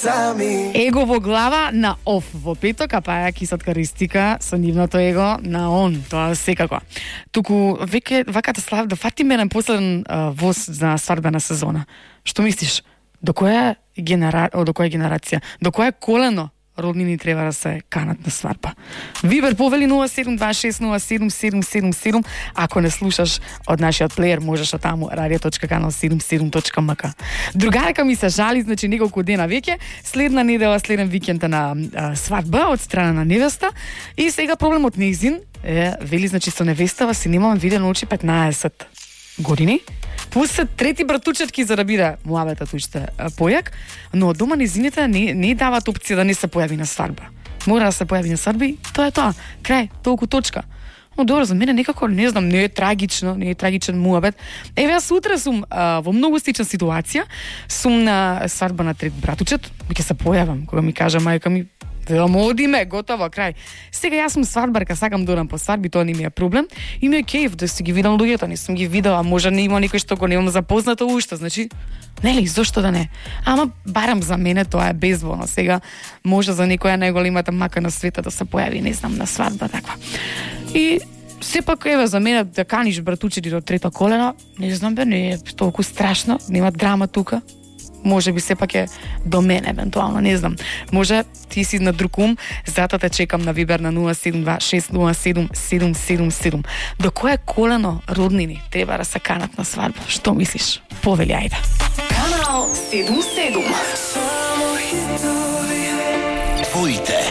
сами. Его во глава на оф во петок, а паја кисатка ристика со нивното его на он, тоа секако. Туку веќе ваката слав да фатиме на последен воз за свадбена сезона. Што мислиш? До која генерација? До која колено роднини треба да се канат на свадба? Вибер повели 072607777. Ако не слушаш од нашиот плеер, можеш од таму radio.canal77.mk. Другарка ми се жали, значи неколку дена веќе, следна недела, следен викенд на свадба од страна на невеста и сега проблемот неизин е, вели, значи со невестава си немам видено очи 15 години. Пусе трети братучетки за да биде муабетот уште појак, но дома незините не дават опција да не се појави на свадба. Мора да се појави на свадба и тоа е тоа. Крај, толку точка. Но добро, за мене некако, не знам, не е трагично, не е трагичен муабет. Еве, јас утре сум во многу слична ситуација, сум на свадба на трет братучет, ќе се појавам, кога ми кажа мајка ми, одиме, готово, крај. Сега јас сум свадбарка, сакам да одам по свадби, тоа не ми е проблем. И ми е кејф да си ги видам луѓето, не сум ги видела, може не има никој што го немам запознато уште, значи, нели, зошто да не? Ама барам за мене тоа е безболно. Сега може за некоја најголемата мака на светот да се појави, не знам, на свадба таква. И сепак еве за мене да каниш братучети до трето колено, не знам бе, не е толку страшно, нема драма тука. Може би сепак е до мене, евентуално, не знам. Може ти си на друг ум, затоа те чекам на Вибер на 072607777. До кое колено роднини треба да се канат на свадба? Што мислиш? Повели, ајде. Канал 77. Твоите